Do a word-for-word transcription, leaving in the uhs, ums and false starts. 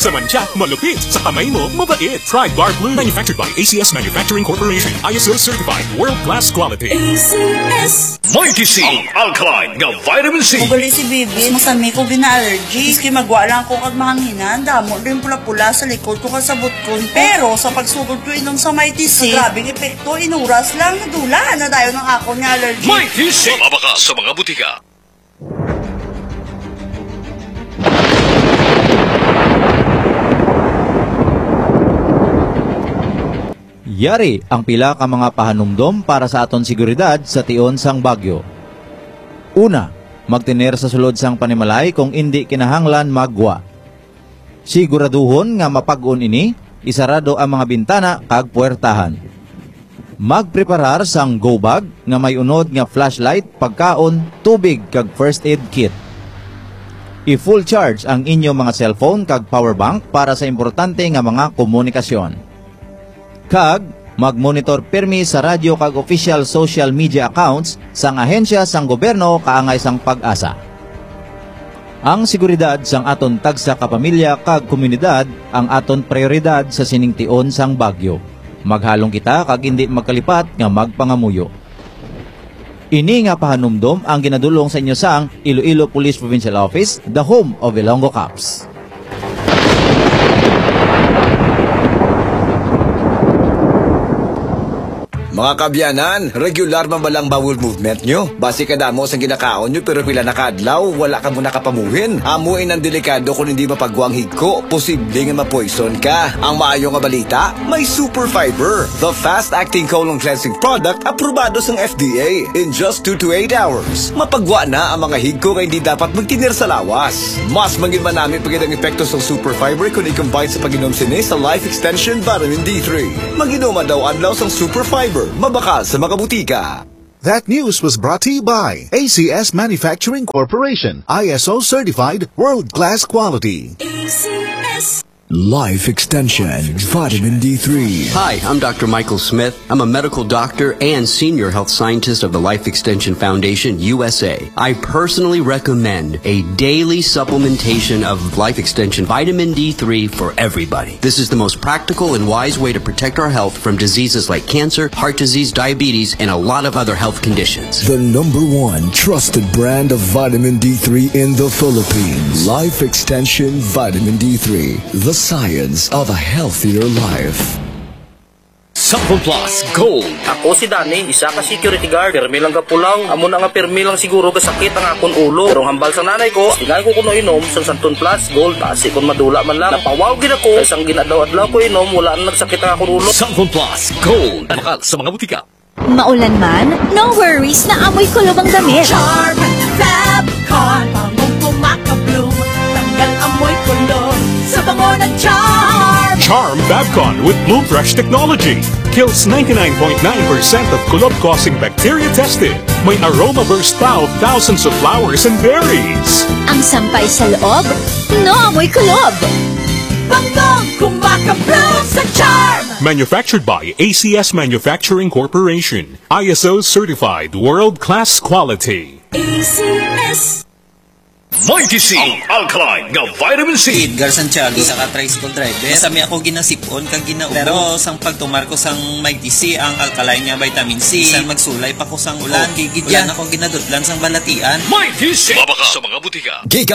Sa mantsa, malupit. Sa kamay mo, mabait. Pride Bar Blue. Manufactured by A C S Manufacturing Corporation. I S O certified. World class quality. A C S. Mighty C, ang alkaline nga vitamin C. Ugali si Bibi, masami ko gina-allergy. Maski magwa lang ako kag mahanghinan, damo din pula-pula sa likod ko kag sa butkon. Pero sa pagsugod ko inom sa Mighty C, grabing epekto, inuras lang, nadula na dayon ang akon nga allergy. Mighty C. Mabakal sa mga butika. Yari ang pila ka mga pahanumdom para sa aton seguridad sa tion sang bagyo. Una, magtener sa sulod sang panimalay kung indi kinahanglan maggwa. Siguraduhon nga mapag-on ini, isarado ang mga bintana kag puwertahan. Magpreparar sang go bag nga may unod nga flashlight, pagkaon, tubig, kag first aid kit. I-full charge ang inyo mga cellphone kag power bank para sa importante nga mga komunikasyon. Kag mag-monitor pirmi sa radyo kag official social media accounts sang ahensya sang gobyerno kaangay sang PAGASA. Ang seguridad sang aton tagsa ka pamilya kag komunidad ang aton prioridad sa sining tion sang bagyo. Maghalong kita kag indi magkalipat nga magpangamuyo. Ini nga pahanumdom ang ginadul-ong sa inyo sang Iloilo Police Provincial Office, the home of Ilonggo Cops. Mga kaabyanan, regular man ba lang bowel movement nyo? Basi kadamo sang ginakaon nyo pero pila na ka adlaw, wala kamo nakapamuhin. Amo inang delikado kon hindi mapagwa ang higko, posible nga ma-poison ka. Ang maayo nga balita, may Super Fiber, the fast-acting colon cleansing product, aprobado sang F D A. In just two to eight hours, mapagwa na ang mga higko nga hindi dapat magtener sa lawas. Mas manginmanami pa gid ang epekto sang Super Fiber kon i-combine sa pag-inom sini sa Life Extension Vitamin D three. Mag-inom adlaw-adlaw sang Super Fiber, mabakal sa mga butika. That news was brought to you by A C S Manufacturing Corporation, I S O certified, world-class quality. A C S. Life Extension Vitamin D three. Hi, I'm Doctor Michael Smith. I'm a medical doctor and senior health scientist of the Life Extension Foundation, U S A. I personally recommend a daily supplementation of Life Extension Vitamin D three for everybody. This is the most practical and wise way to protect our health from diseases like cancer, heart disease, diabetes, and a lot of other health conditions. The number one trusted brand of vitamin D three in the Philippines. Life Extension Vitamin D three. The science of a healthier life. Cellphone Plus Gold. Ako si Danny, isa ka security guard. Pirmi lang gapulaw. Amo na nga pirmi lang siguro gasakit ang akon ulo. Pero ang hambal sang nanay ko, tingali ko kuno inom sang Santon Plus Gold. Basi kon madula man lang. Napawaw gid ako. Kay sang gin-adlaw-adlaw ko inom, wala na nagsakit ang akon ulo. Santon Plus Gold. Mabakal sa mga butika. Maulan man, no worries, na amoy kulob ang damit. Charm Fab Con, bangong kumakabloom, tanggal amoy kulob sa bango ng Charm. Charm Fab Con with Bloom Fresh technology kills ninety-nine point nine percent of kulob-causing bacteria tested. May aroma burst pa of thousands of flowers and berries. Ang sampay sa loob, no amoy kulob. Bangong kumakabloom sa Charm. Manufactured by A C S Manufacturing Corporation. I S O certified world-class quality. A C S. Mighty C, ang alkaline nga vitamin C. Edgar Santiago, isa ka tricycle driver. Sa mi ako ginasipon kag ginaubos. Pero sang pagtumar ko sang Mighty C, ang alkaline nga vitamin C, bisan magsulay pa ko sang ulan, okay gid yan. Wala na ko ginadutlan sang balatian. Mighty C. Mabakal sa mga butika. Gikan